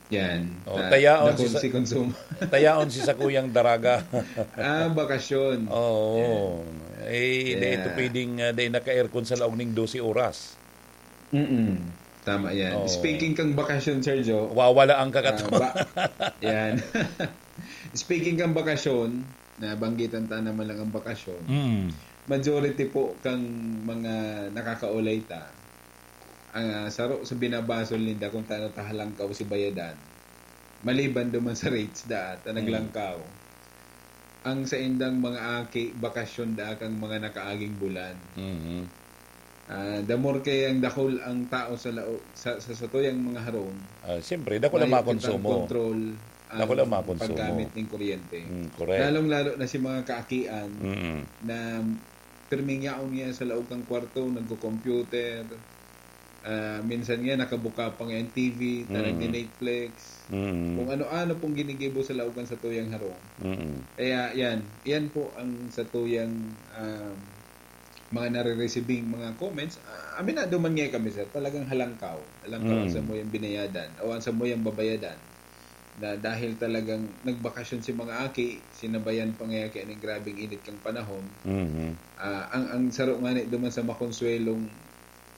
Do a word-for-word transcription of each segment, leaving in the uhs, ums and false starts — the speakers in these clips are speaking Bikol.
Yan. Oh, tayaon si, si konsumo. Tayaon si sakuyang daraga. Ah, bakasyon. Oo. Yan. Eh, yeah. Di ito pwedeng, uh, di naka-aircon sa laog ning dose oras. Mm-mm. Tama yan. Oo. Speaking kang bakasyon, Sergio. Wawala ang kakato. Ah, ba-, yan. Speaking kang bakasyon, nabanggitan ta naman lang ang bakasyon. Mm. Majority po kang mga nakakaulay ta, ang, ah, saro sa binabasol ninda kung tano ta halangkaw si bayadan. Maliban duman sa rates da ta naglangkaw. Ang saindang mga aki, bakasyon da kang mga nakaaging bulan. Mhm. Ah, the more kay ang dakul ang tao sa lao-, sa, sa, sa tuyang mga harong, Ah, siyempre, dakul ang mayo kitang makonsumo. Control ang Dakul ang makonsumo. Paggamit ning kuryente. Mm, correct. Lalong-lalo na si mga kaakian Mm. na pirming yaon niya sa laog kang kwarto, nagko-computer, ah, minsan nga nakabuka pa nga ang T V, ta Mm. nagni-Netflix. Mm. Kung ano-ano pong ginigibo sa laog kan satuyang harong. Mm. Kaya yan, yan po ang satuyang, ah, mga nare-receiving mga comments. Ah, aminado man nga kami, sir, talagang halangkaw. Halangkaw ang Mm. samuyang binayadan o ang samuyang babayadan. Na dahil talagang nagbakasyon si mga aki, sinabayan pa nga kaya ning grabeng init kang panahon. Mhm. Ah, ang, ang saro nga ni duman sa makonsuelong,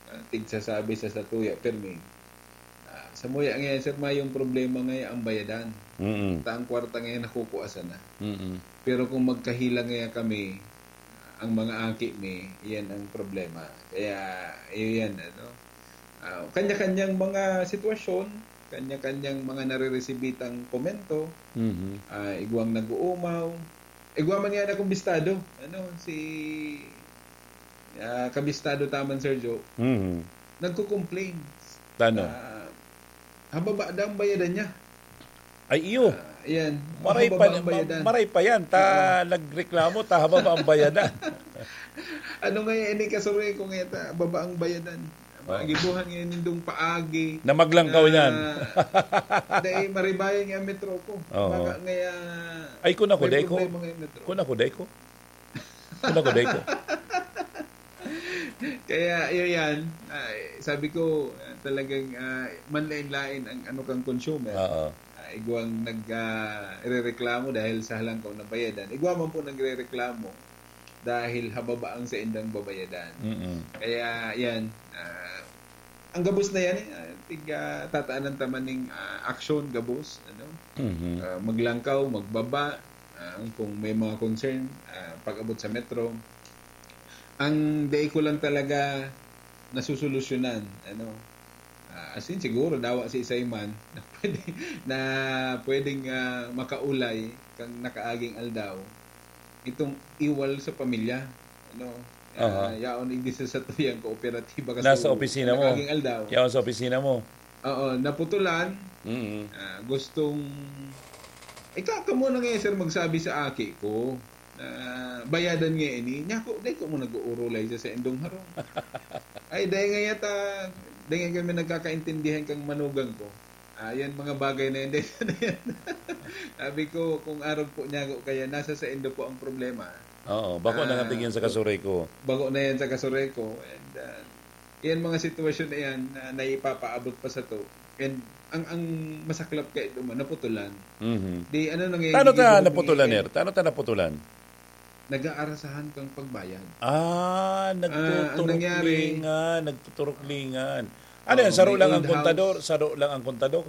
ah, tigsasabi sa satuya, pirmi. Ah, samuya ngayon, sir, mayong problema ngayon ang bayadan. Mm. Ta ang kwarta ngayon nakukua sana. Mm. Pero kung magkahila ngayon kami, ang mga aki mi, iyan ang problema. Kaya, iyan, ano, ah, kanya-kanyang mga sitwasyon, kanya-kanyang mga nareresibitang komento, Mhm. ah, igwang nag-uumaw, igwa man yan akong bistado, ano, si, ah, kabistado taman, Sir Joe, Mhm. nagko-complain. Tano? Ah, hababa daw ang bayadan niya. Ay, iyo. Ah, yan. Maray Hababa pa, ang bayadan. ma-, maray pa yan. Ta, Oo. nagreklamo, ta, hababa ang bayadan. Ano nga yan, ini kasuri ko nga ta, baba ang bayadan. Oo. Mga gibuhan ngayon nindong paagi. Na maglangkaw Na, yan. dahil maribayan nga ang metro ko. Oo. Baka nga, Ay, kun ako, may dai ko. problema nga yung metro. Kun ako, dai ko. Kun ako, dai ko. Kaya, yun yan. Ay, sabi ko, ah, talagang, ah, manlain-lain ang ano kang consumer. Oo. Ah, igwang nag, ah, irereklamo dahil sa halangkaw na bayadan. Igwa man po nagrereklamo dahil hababa ang saindang babayadan. Mm-mm. Kaya, yan, ah, ang gabos na yan, eh, ah, tig, ah, tataanan ta man ning, ah, aksyon, gabos, ano? Mhm. Ah, maglangkaw, magbaba, ah, kung may mga concern, ah, pag-abot sa metro. Ang dai ko lang talaga nasusolusyonan, ano? Ah, as in, siguro, dawa si isay man na pwede, na pwedeng, ah, makaulay kang nakaaging aldaw, itong iwal sa pamilya, ano? Ah, Aha. yaon igdi sa satuyang kooperatiba kasi Nasa opisina mo. nakaaging aldaw. Yaon sa opisina mo. Oo, naputulan. Mm. Ah, gustong, ikaw ka muna ngayon, sir, magsabi sa aki ko na bayadan nga ini. Niya ko, dai ko mo nag-uurulay sa saindong harong. Ay, dai nga yata, dai nga kami nagkakaintindihan kang manugang ko. Ah, yan mga bagay na yan, dai na yan. Sabi ko, kung arog po niya ako, kaya nasa saindo po ang problema. Oo, bako na Ah, nga tigyan sa kasuray ko. Bako na yan sa kasuray ko. And, ah, yan mga sitwasyon na yan na naipapaabot pa sa to. And ang, ang masaklap kay duman, naputulan. Mhm. Di, ano nangyayari Tano ta dito, naputulan, nagbibigay Ner? Tano ta naputulan? Nag-aarasahan kang pagbayad. Ah, Ah, ang nangyari nagtuturuklingan, nagtuturuklingan. Ano Oo, yan? Saro may lang ang old kontador? house. Saro lang ang kontador?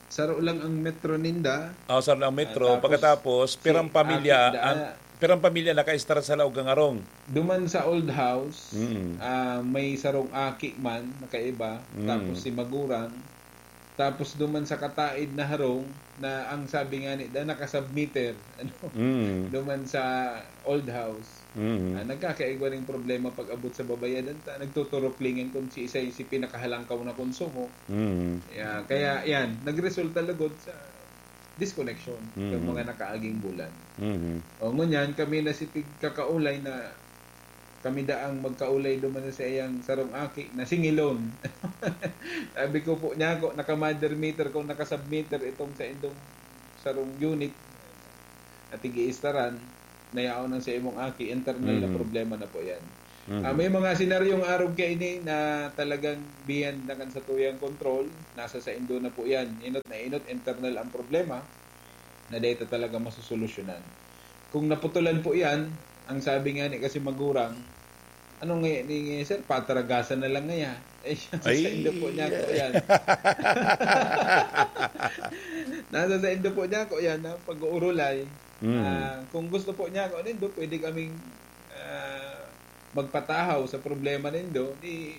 Saro lang ang metro ninda. Ah, saro lang ang metro. Ah, tapos Pagkatapos, si pirang pamilya, aki da- ang, pirang pamilya nakaistar sa laog ng arong? Duman sa old house, Mm. ah, may sarong aki man, nakaiba. Mm. Tapos si magurang. Tapos duman sa kataid na harong, na ang sabi nga ni, da, naka-submeter, ano? Mm. Duman sa old house. Mm. Ah, nagkakaigwa ring problema pag abot sa babayadan ta, nagtuturuklingan kung si isay si pinakahalangkaw na konsumo. Mm. Yeah, kaya yan, nagresulta lugod sa disconnection ng Mm. mga nakaaging bulan. Mm. O, ngunyan, kami na si tig-, kakaulay na kami daang magkaulay duman sa iyang sarong aki na singilon. Sabi ko po niya ako, naka-mother meter kung naka-submeter itong sa indong sarong unit at ig-iistaran, nayaon ang sa imong aki, internal na Mm. problema na po yan. Mhm. Ah, may mga senaryong arog kaini na talagang beyond na kan satuyang kontrol, nasa saindo na po yan. Inot na inot, internal ang problema na dai ta talaga masosolusyonan. Kung naputulan po yan, ang sabi nga ni kasi magurang, "Ano nga ni, nga, sir, pataragasan na lang ngaya." Eh, nasa Ay. saindo po niya ko yan. Nasa saindo po niya ko yan, na pag-uurulay. Mm. Ah, kung gusto po niya ko nindo, pwede kaming, ah, magpatahaw sa problema nindo, di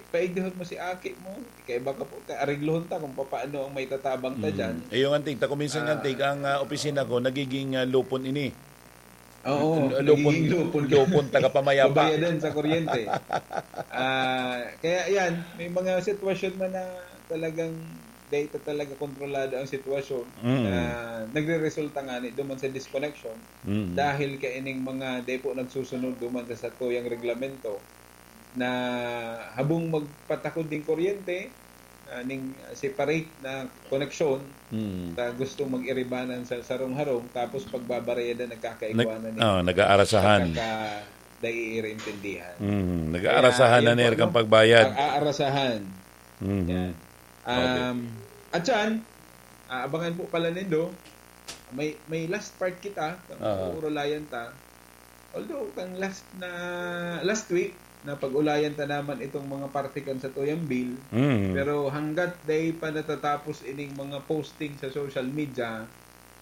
paigdihon mo si aki mo, kaiba ka po, areglohon ta kung papaano ang may tatabang ta Mm. dyan. Eh, yung antig, ta kung minsan Ah. antig, ang, ah, opisina ko, nagiging, ah, lupon ini. Oo, L-, lupon, nagiging lupon ka. lupon tagapamayapa. Babayadan sa kuryente. Ah, kaya yan, may mga sitwasyon man na talagang dai ta talaga kontrolado ang sitwasyon Mm. na nagreresulta nga ni duman sa disconnection Mm. dahil kaining mga dai po nagsusunod duman sa satuyang reglamento na habong magpatakod ning kuryente, ah, ning separate na koneksyon, Mm. ta gusto mag-iribanan sa sarong harong, tapos pagbabarayadan, nagkakaigwa Nag-, na ni ah, nag-aarasahan. Pagkaka-, naiirintindihan. Mm, Kaya, nag-aarasahan na yan po, nila kang no? pagbayad. Nag-aarasahan. Mhm. Yan. Okay. Um, at yan, ah, abangan po pala nindo, may, may last part kita, kung Ah. uurulayan ta. Although, kang last na, last week, na pag-ulayan ta naman itong mga parte kan satuyang bill, Mhm. pero hanggat dai pa natatapos ining mga posting sa social media,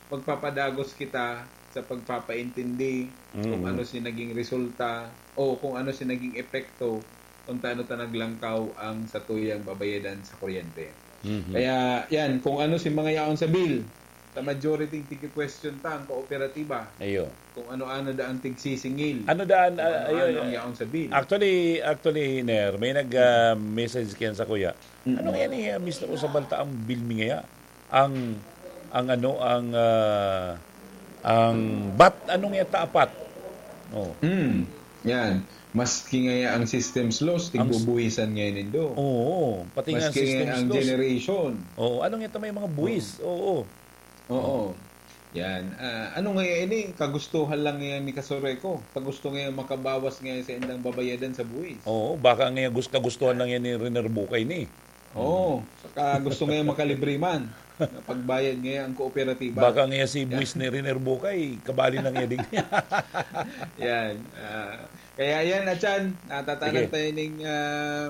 magpapadagos kita sa pagpapaintindi kung Mhm. ano si naging resulta o kung ano si naging epekto kung taano ta naglangkaw ang satuyang babayadan sa kuryente. Mhm. Kaya, yan, kung ano si mga yaon sa bill, sa majority, tiki-question ta ang kooperatiba. Ayo. Kung ano-ano da ang tigsisingil. Ano daan, Kung ah, ano-ano ayo, ang yaon sa bill. Actually, actually, Ner, may nag, ah, message kiyan sa kuya. Mm-mm. Ano kaya ni, ah, mister Usabal ta ang bill mi ngaya? Ang, ang ano, ang, ah, ang bat, ano nga ta apat? Oh. Mm. Yan. Maski ngaya ang systems loss, Ang s- tigbubuhisan ngayon nindo. Oo, pati nga Maski ngaya systems ang loss. generation. Oo, ano nga ta may mga buwis? Oo. Oo. Oo. Yan. Ah, ano nga ini? Kagustuhan lang yan ni Kasureko. Kagusto nga makabawas nga sa indang babayadan sa buwis. Oo, baka nga gus-, kagustuhan lang yan ni Riner Bukay ni. Oo, saka gusto nga makalibre man. Pagbayad nga ang kooperatiba. Baka nga si Yan. buwis ni Riner Bukay, kabali na nga din. Yan. Ah, kaya yan, Achan, natatanan Sige. tayo ning, ah,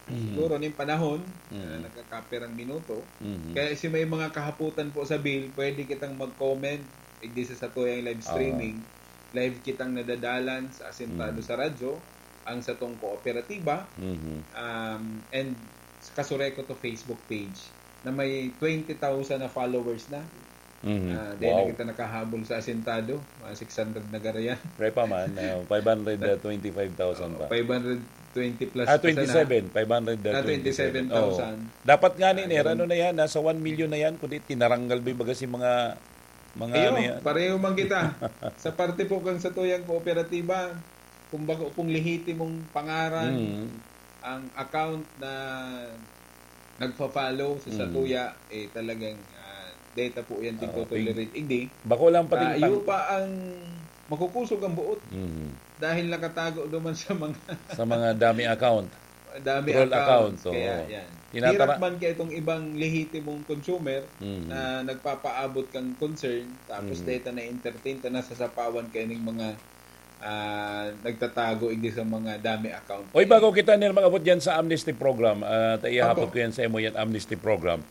Mhm. siguro ning panahon, Mhm. ah, nagkakapirang minuto. Mhm. Kaya si may mga kahaputan po sa bill, pwede kitang mag-comment, igdi sa satuyang live Ah. streaming. Live kitang nadadalan sa Asintado Mhm. sa radyo, ang satong kooperatiba, Mhm. um, and Kasureko to Facebook page na may twenty thousand na followers na. Mhm. Ah, dahil Wow. na kita nakahabol sa Asintado, mga six hundred na garayan. Pre pa man, ah, five hundred twenty-five thousand pa. Five hundred twenty plus Ah, pa sana. twenty-seven, five hundred twenty-seven. Ah, twenty-seven thousand. Oo. Dapat nga ni, Ah, Ner, yun. ano na yan, nasa one million na yan, kundi tinaranggal ba yung baga si mga, mga Ayun, ano yan? pareho man kita. Sa parte po kang satuyang kooperatiba, kung bako pong lehitimong pangaran, Mm. ang account na nagpa-follow sa Mm. satuya, eh, talagang, ah, data po yan, Oo, tig-tolerate. Igdi, bako lang pati ah, yung iyo pang- pa ang makukusog ang buot Mm. dahil nakatago duman sa mga Sa mga dami account. dami Troll accounts. account, oo. Kaya yan. Tinatara- Hirap man kaya itong ibang lehitimong consumer Mm. na nagpapaabot kang concern, tapos Mm. data na entertain, ta nasasapawan kayo ng mga ah, nagtatago igdi sa mga dami account. Oy, bago kita, Ner, mag-abot dyan sa amnesty program, ah, ta ihapot Opo. ko yan sa imo yan, amnesty program.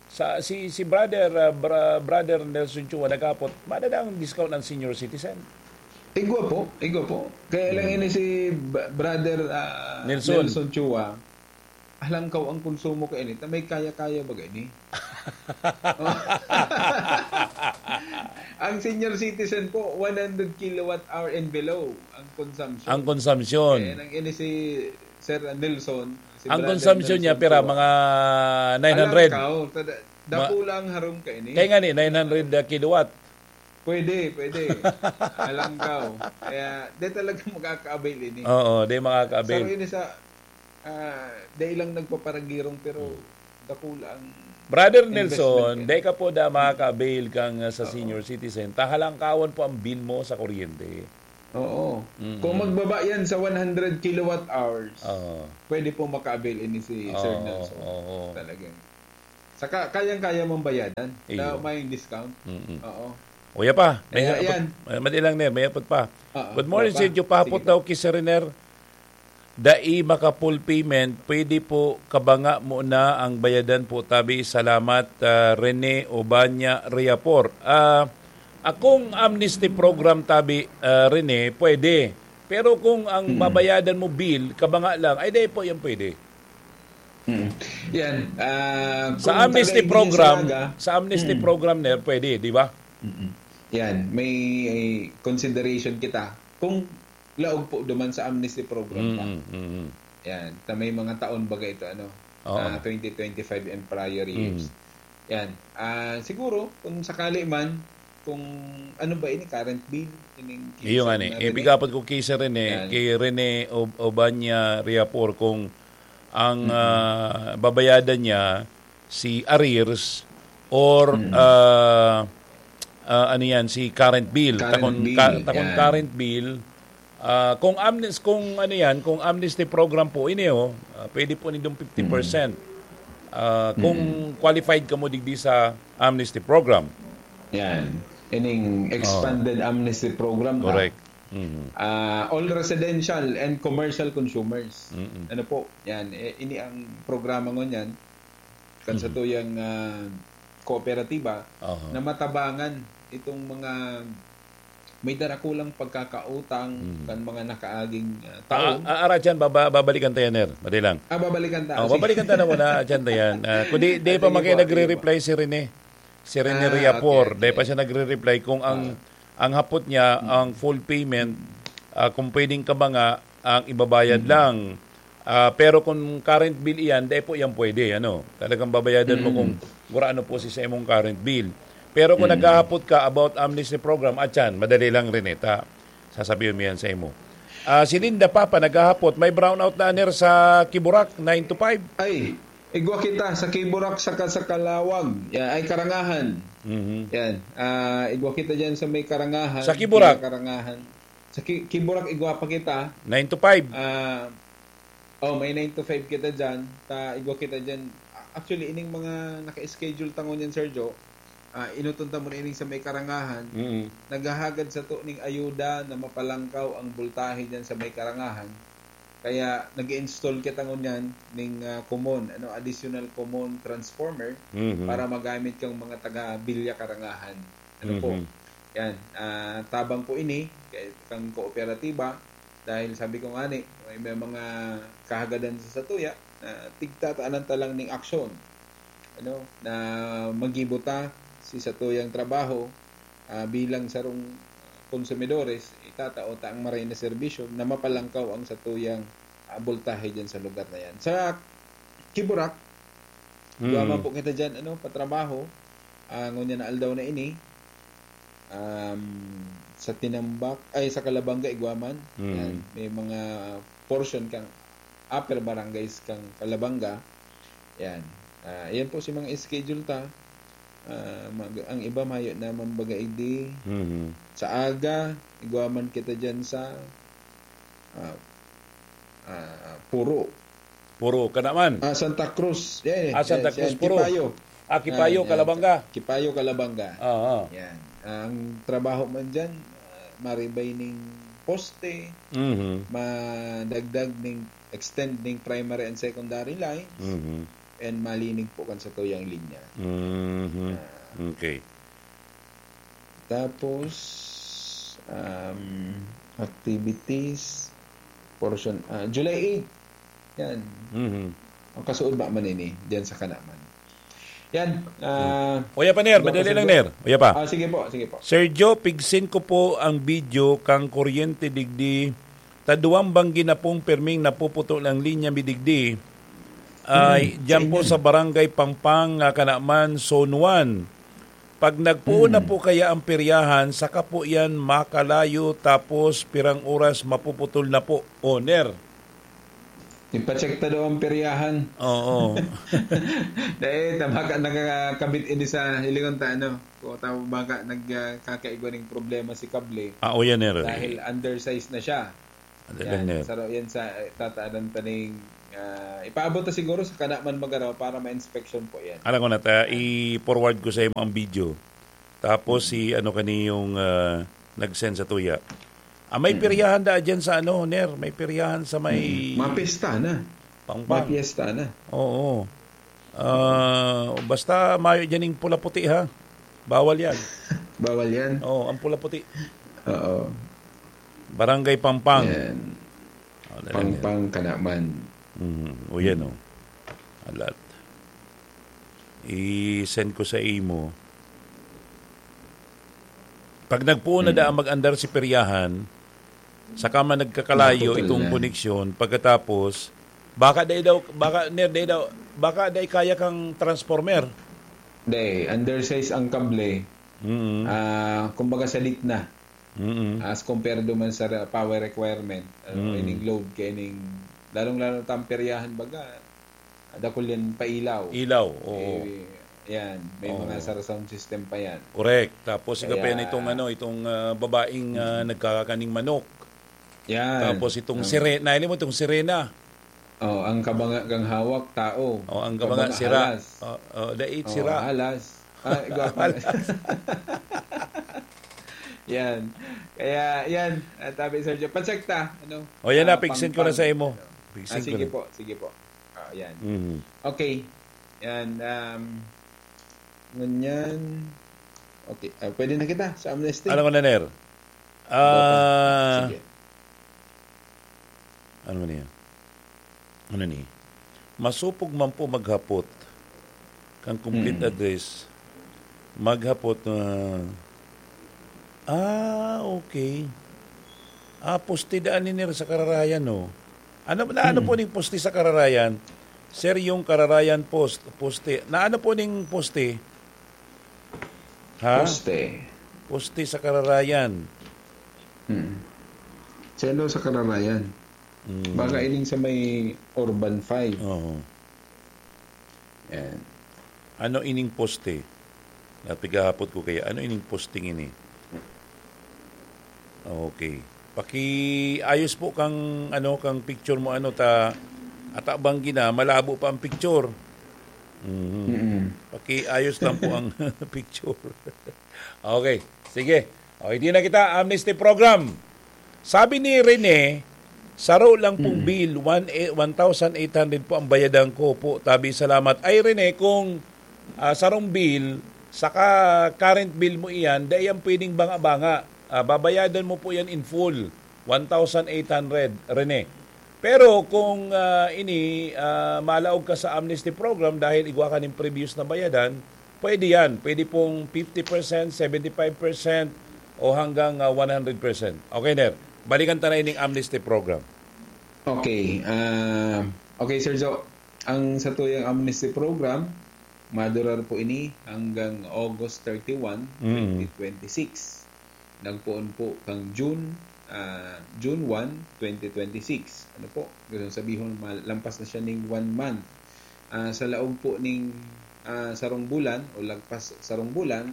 Sa, si, si brother, ah, bra-, brother Nelson Chua naghapot, madadang discount ang senior citizen. Igwa po, igwa po. Kaya lang Hmm. ini si b-, brother, ah, Nelson. Nelson Chua. Halangkaw ang konsumo kaini, ta may kaya-kaya ba gani? Ang senior citizen po, one hundred kilowatt hour and below ang consumption. Ang consumption. Kaya nang ini si Sir Nelson, si Ang Brother consumption Nelson niya, pira, po. Mga nine hundred. Halangkaw, tada-, Ma- dakula ang harong kaini. Kaya nga ni, nine hundred kilowatt. Pwede, pwede. Halangkaw. Kaya, di talaga makaka-avail ini. Oo, di makaka-avail. Sa ini sa, ah, di lang nagpaparagirong, pero Hmm. dakula ang Brother investment Nelson, kaini. Di ka po da makaka-avail kang, ah, sa Oo. senior citizen. Ta halangkawan po ang bill mo sa kuryente. Oo. Mm-mm. Kung magbaba yan sa one hundred kilowatt hours, Oo. pwede po maka-avail ini si Sir Oo, Nelson. oo. Talagang. Saka kayang-kaya mong bayadan Iyo. na may discount. Mm-mm. Oo. Uya pa, may Kaya hapot, yan. eh, madali lang, Ner, may hapot pa. Oo, Good morning, uya pa. Sergio. Pahapot Sige po. daw ki Sir Rene, dai maka full payment, pwede po kabanga muna ang bayadan po tabi. Salamat, ah, Rene Obanya Riapor. Ah, akong amnesty program tabi, ah, Rene, pwede. Pero kung ang Mm. babayadan mo bill, kabanga lang, ay, di po yan pwede. Mm. Yan, ah, Sa kung amnesty taga-iglesia program, talaga, sa amnesty Mm. program, Ner, pwede, di ba? Mm-mm. Yan, may consideration kita. Kung laog po duman sa amnesty program pa. Mm, mm, mm. Yan, ta may mga taon baga ito, ano, Oo. ah, twenty twenty-five and prior years. Mm. Yan. Ah, siguro, kung sakali man, kung ano ba ini, current bill, ining Iyo nga ni, kinsa na eh, rin eh. bigapot ko kay Sir Rene, Yan. kay Rene Ob-, Obanya Riapor, kung ang, Mm-mm. ah, babayadan niya si arrears or, Mm. ah, ah, ano yan, si current bill. Current Takon bill, ka-, takon yan. current bill, ah, kung amnes-, kung ano yan, kung amnesty program po, ini, oh, ah, pwede po nindong fifty percent. Mm. Ah, kung Mm. qualified ka mo digdi sa amnesty program. Yan. Ining Oh. expanded amnesty program ta. Correct. Mhm. Ah, all residential and commercial consumers. Mm-mm. Ano po? Yan. Eh, ini ang programa ngunyan. Kan sa Mhm. tuyang, ah, kooperatiba Aha. na matabangan itong mga may darakulang pagkakautang Mhm. kan mga nakaaging, ah, Ah, taon. ah, ara dyan, baba-, babalikan ta yan, Ner. Madali lang. Ah, babalikan ta. Oh, Sige. babalikan ta na muna, dyan ta yan. Ah, kundi, di Ah, pa sige man kayo po, sige po. nagre-reply si Rene. Si Rene Ah, Riapor, okay, okay. di pa siya nagre-reply kung ang, Ah. ang hapot niya, Mm. ang full payment, ah, kung pwedeng kabanga, ang ibabayad Mm. lang. Ah, pero kung current bill iyan, di po yan pwede, ano. Talagang babayadan mo Mm. kung gurano po si sa imong current bill. Pero kung Mm. naghahapot ka about amnesty program, atyan, madali lang rin, eh, ta. Sasabihin mo yan sa imo. Ah, si Linda Papa naghahapot, may brownout na aner sa Kiburak, nine to five. Ay, igwa kita sa Kiburak saka sa Kalawag. Yan, ay, Karangahan. Mhm. Yan. Ah, igwa kita dyan sa may Karangahan. Sa Kiburak? May Karangahan. Sa Ki-, Kiburak, igwa pa kita. Nine to five. Ah, oh, may nine to five kita dyan. Ta, igwa kita dyan. A-, actually, ining mga naka-schedule ta ngunyan, Sergio, ah, inuton ta mo na ining sa may Karangahan. Mm. Naghahagad sato ning ayuda na mapalangkaw ang boltahe dyan sa may Karangahan. Kaya nag-i-install kita ngunyan ning, ah, common, ano, additional common transformer Mhm. para magamit kang mga taga Villa Karangahan. Ano po? Mhm. Yan, ah, tabang po ini kay, kang kooperatiba dahil sabi ko nga ni, may, may mga kahagadan sa satuya na tigtataanan ta lang ning aksyon, ano, na magibo ta si satuyang trabaho, ah, bilang sarong konsumidores, itatao ta ang maray na serbisyo na mapalangkaw ang satuyang, ah, boltahe dyan sa lugar na yan. Sa Kiburak, Mm. duwa man po kita dyan, ano, patrabaho, ah, ngunyan na aldaw na ini, um, sa Tinambak, ay, sa Calabanga, igwa man. Mm. Yan, may mga portion kang upper barangays kang Calabanga. Yan. Ah, yan po si mga schedule ta. Ah, mag-, ang iba mayo naman baga idi. Mhm. Sa aga, igwa man kita dyan sa, ah, ah, Puro. Puro, kana man? Ah, Santa Cruz. Yan, Ah, Santa yan, Cruz, yan. Puro. Kipayo. Ah, Kipayo, Ah, yan. Calabanga. Kipayo, Calabanga. Oo. Yan. Ang trabaho man dyan, ah, maribay ning poste, Mhm. madagdag ning extend ning primary and secondary lines, Mhm. and malinig po kan satuyang linya. Mhm. Ah. Okay. Tapos, um, activities, portion, ah, July eight. Yan. Mhm. Ang kasuod ba man ini, diyan sa Kanaman. Yan, ah, Uya pa, Ner. Madali lang, Ner. Uya pa. Ah, sige po, sige po. Sir Joe, pigsin ko po ang video kang kuryente digdi. Taduang banggi na pong perming napuputol ang linya mi digdi. Ay, Hmm, diyan sa po inyo. sa Barangay Pampang, ah, Kanaman, Zone one. Pag nagpuon na Hmm. po kaya ang peryahan, saka po yan makalayo, tapos pirang oras mapuputol na po, owner. Ipacheck ta daw ang peryahan. Oo. Dahil ta baka nakakabit ini sa hilingon ta, ano, kung ta baka nagkakaigwa ning problema si kable. Ah, o yan, eh. Dahil undersize na siya. Ano yan, lang, eh. Saro yan sa, eh, tataadan pa ning, ah, ipaabot na siguro sa kanaman magaraw para ma-inspection po yan. Alam ko na, ta, i-forward ko sa imo ang video. Tapos si ano kani yung, ah, nag-send sa tuya. Ah, may Mm. peryahan da dyan sa ano, Ner? May peryahan sa may Mm. Mga pista na. Pampang. May piyesta na. Oo. Ah, basta mayo dyan yung pula-puti, ha? Bawal yan. Bawal yan. Oo, ang pula-puti. Oo. Barangay Pampang. Yan. Oh, dali, Pampang, dali. Kanaman. Mhm. O, yan, oh. Alat. I-send ko sa imo. Pag nagpuon na Mm. daan mag-andar si peryahan, saka man nagkakalayo Naputol itong na. Koneksyon, pagkatapos, baka dai daw, baka, Ner, dai daw, baka dai kaya kang transformer. Dai, undersize ang kable. Mm. Ah, kumbaga salit na. Mm. As compared man sa re-, power requirement, ah, Mm. ining load, kay ining, lalong-lalo na tamperyahan baga, dakul yan pailaw. Ilaw, oo. Eh, yan, may Oo. mga sar-, sound system pa yan. Correct. Tapos, siga pa yan Kaya itong, ano, itong, ah, babaeng, ah, Mm. nagkakakaning manok. Yan. Tapos itong Ang sirena, alam mo itong sirena? Oh, ang kabanga kang hawak, tao. Oh, ang kabanga, Kabanga, sira. Halas. Oh, oh, dait, Oh, sira. Halas. Ah, igwa pa. Halas. Yan. Kaya, yan. Ah, tabi, Sir Joe. Pacheck ta, ano? Oh, yan na, Ah, pig-send ko na Pampang. sa imo. Ano? Pig-send Ah, ko sige na. po, sige po. Ah, yan. Mhm. Okay. Yan, um, ngunyan. Okay, ah, pwede na kita sa amnesty? Alam ko na, Ner. Ah, Sige. Ano man yan? Ano ni? Masupog man po maghapot. Kang complete Mm. address. Maghapot na, ah, okay. Ah, poste daan ni Ner sa Kararayan, no? Ano, na ano Mm. po ning poste sa Kararayan? Sir, yung Kararayan post, poste. Na ano po ning poste? Ha? Poste. Poste sa Kararayan. Mm. Seno sa Kararayan? Mm. Baka ining sa may Urban five. Oo. Yan. Ano ining poste? Napigahapot ko kaya, ano ining posting ini? Okay. Pakiayos po kang, ano, kang picture mo, ano, ta, ata banggi na, malabo pa ang picture. Mhm. Mm-mm. Pakiayos lang po ang picture. Okay, sige. Okay, di na kita, amnesty program. Sabi ni Rene, saro lang pong Mm. bill, one, eh, one thousand eight hundred po ang bayadan ko po. Tabi, salamat. Ay, Rene, kung, ah, sarong bill, saka current bill mo iyan, dai yan pwedeng banga-banga. Ah, babayadan mo po yan in full, one thousand eight hundred, Rene. Pero kung, ah, ini, ah, malaog ka sa amnesty program dahil igwa ka ning previous na bayadan, pwede yan. Pwede pong fifty percent, seventy-five percent, o hanggang, ah, one hundred percent. Okay, Ner. Balikan ta na ining amnesty program. Okay. Ah, okay, Sir Joe. Ang satuyang amnesty program, madurar po ini hanggang August thirty-one, Mm. twenty twenty-six. Nagpoon po kang June, ah, June one, twenty twenty-six. Ano po? Gusto sabihon, mal-, lampas na siya ning one month. Ah, sa laog po ning, ah, sarong bulan o lagpas sarong bulan,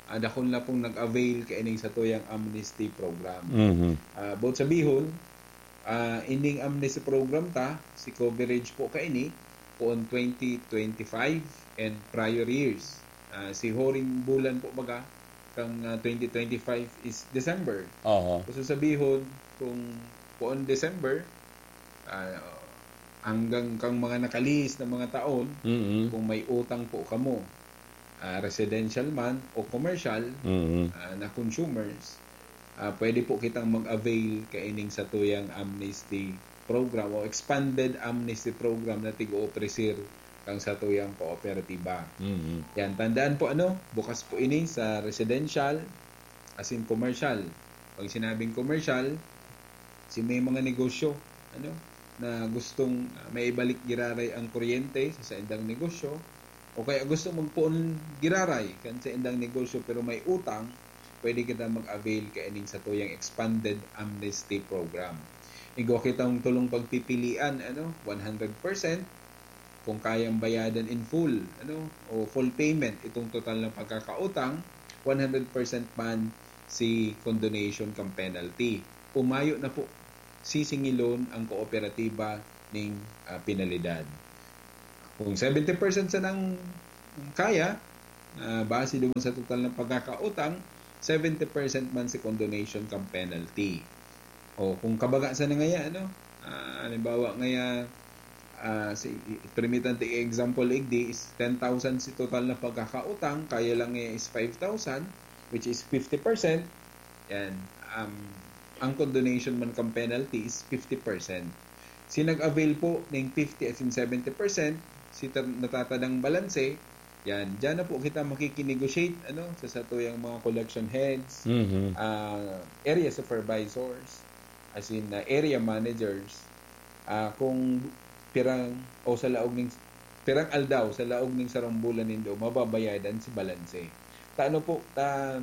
ah, dakul na pong nag-avail kaining satuyang amnesty program. Mhm. Ah, buot sabihon, ah, ining amnesty program ta, si coverage po kaini, poon twenty twenty-five and prior years. Ah, si huring bulan po baga, kang, ah, twenty twenty-five is December. Aha. So, sabihon, kung poon December, ah, hanggang kang mga nakalihis na mga taon, Mm-mm. kung may utang po kamo, ah, residential man o commercial, Mm-mm. ah, na consumers, ah, pwede po kitang mag-avail kaining satuyang amnesty program o expanded amnesty program na tig-oofrecer kang satuyang kooperatiba. Mm-mm. Yan, tandaan po, ano, bukas po ini sa residential, as in commercial. Pag sinabing commercial, si may mga negosyo, ano, na gustong, ah, maibalik giraray ang kuryente sa saindang negosyo, o kaya gusto magpoon giraray kan saindang negosyo pero may utang, pwede kita mag-avail kaining satuyang expanded amnesty program. igwa kitang tolong pagpipilian, ano, one hundred percent, kung kayang bayadan in full, ano, o full payment itong total na pagkakautang, one hundred percent man si condonation kan penalty. Umayo na po, sisingilon ang kooperatiba ning, ah, penalidad. Kung seventy percent sanang kaya, ah, base duman sa total na pagkakautang, seventy percent man si condonation kan penalty. O, kung kabaga sana ngaya, ano, ah, halimbawa ngaya, ah, si, permitan ta i-example igdi is ten thousand si total na pagkakautang, kaya lang ngaya is five thousand, which is fifty percent, yan, um, ang condonation man kan penalty is fifty percent. Si nag-avail po ning fifty as in seventy percent, si ta-, natatadang balanse, yan, diyan na po kita makikinegotiate, ano, sa satuyang mga collection heads, Mhm. ah, area supervisors, as in, ah, area managers, ah, kung pirang, o sa laog ning, pirang aldaw sa laog ning sarong bulan nindo, mababayadan si balanse. Ta ano po, ta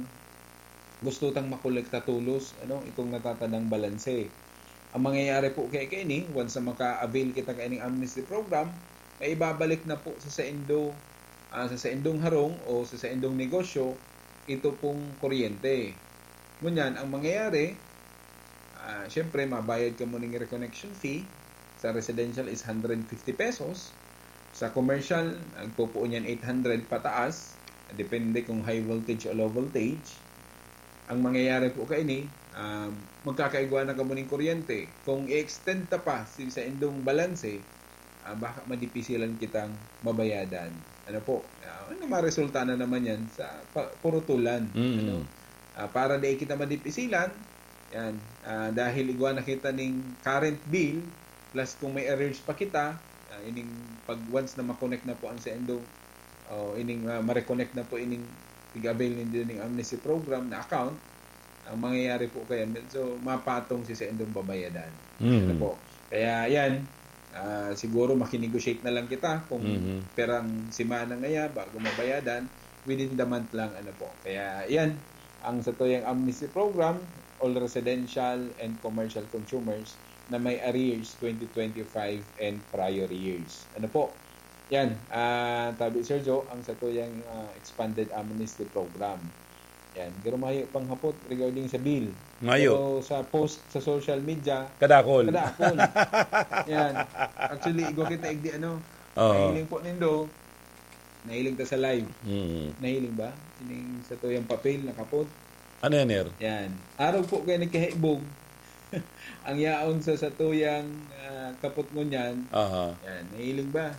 gusto tang makolekta tolos, ano, itong natatadang balanse. Ang mangyayari po kaya kaini, once na maka-avail kita kaining amnesty program, maibabalik na po sa saindo, ah, sa saindong harong o sa saindong negosyo, ito pong kuryente. Ngunyan, ang mangyayari, ah, siyempre, mabayad ka muna ng reconnection fee. Sa residential is hundred fifty pesos. Sa commercial, nagpupuon yan eight hundred pataas. Depende kung high voltage o low voltage. Ang mangyayari po kaini, um, magkakaigwa na kamo ning kuryente. Kung i-extend ta pa si saindong balanse, ah, baka madipisilan kitang mabayadan. Ano po? Ah, ano, maresulta na naman yan sa pa-, purutulan. Mm. Ano? Ah, para di kita madipisilan, yan. Ah, dahil igwa na kita ning current bill, plus kung may arrears pa kita, ah, ining pag once na ma-connect na po ang saindong, o ining, ah, ma-reconnect na po ining tig-avail nindo ning amnesty program na account, ang mangyayari po kaya, medyo mapatong si saindong babayadan. Mhm. Ano po? Kaya yan, ah, siguro makinegotiate na lang kita kung Mhm. perang semana ngaya bago mabayadan, within the month lang, ano po. Kaya yan, ang satuyang amnesty program, all residential and commercial consumers na may arrears twenty twenty-five and prior years. Ano po? Yan, ah, tabi Sergio, ang satuyang, ah, expanded amnesty program. Yan, pero mayo pang hapot regarding sa bill. Mayo. Pero sa post sa social media, Kadakol. kadakol. Yan. Actually, igwa kita igdi, ano, Oo. nahiling po nindo, nahiling ta sa live. Mm. Nahiling ba? Ining satuyang papel, nakapot. Ano yan, Ner? Yan. Arog po kayo nagkahibog. Ang yaon sa satuyang, ah, kapot ngunyan. Aha. Yan, nahiling ba?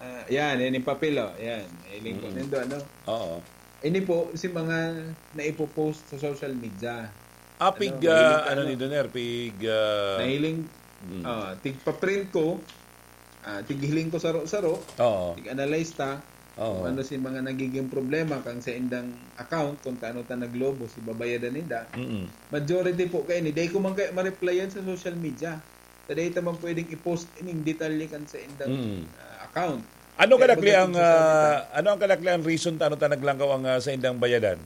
Ah, yan, yan yung papel, oh. Yan, nahiling po Mm. nindo, ano? Oo. Ini po, si mga naipopost sa social media. Ah, Ano, pig, mahiling ah, ka, ano ano? ni Doner? Pig, ah, Nahiling, Mm. ah, tigpa-print ko, ah, tighiling ko saro-saro, Oo. tig-analyze ta, Oo. kung ano si mga nagiging problema kang sa indang account, kung taano ta naglobo, si babayadan ninda. Mm. Majority po kayo ni, dai ko man kayo ma-replyan sa social media. Ta dai ta man pwedeng i-post ining detalye kan sa indang, Mm. ah, account. Ano Kaya kadakli ang, magdating sa salita, ah, ano ang kadakli ang reason ta ano ta naglangkaw ang, ah, sa indang bayadan?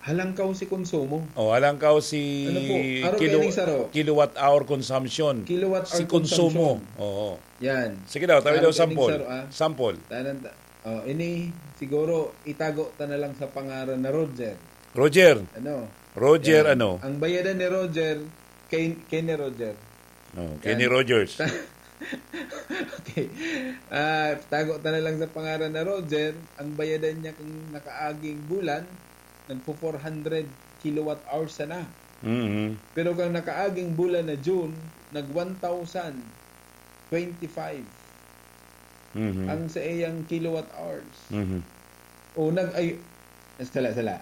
Halangkaw si konsumo. Oh, halangkaw si Ano po? Arog kilo-, kayo ni saro. kilowatt hour consumption. Kilowatt hour Si konsumo. consumption. Oo. Yan. Sige daw, tabi Arog daw kayo ni sample. saro, ah. Sample. Tanan ta-, oh, ini siguro itago ta na lang sa pangaran na Roger. Roger. Ano? Roger Yan. ano? Ang bayadan ni Roger, kay, kay ni Roger. Oh, Kenny Yan. Rogers. Okay. Ah, tago ta na lang sa pangaran na Roger. Ang bayadan niya kung nakaaging bulan, nagpo four hundred kilowatt hours sana. Mhm. Pero kang nakaaging bulan na June, nag one thousand twenty-five Mhm. ang sa iyang kilowatt hours. Mhm. O nag-, ay, sala, sala.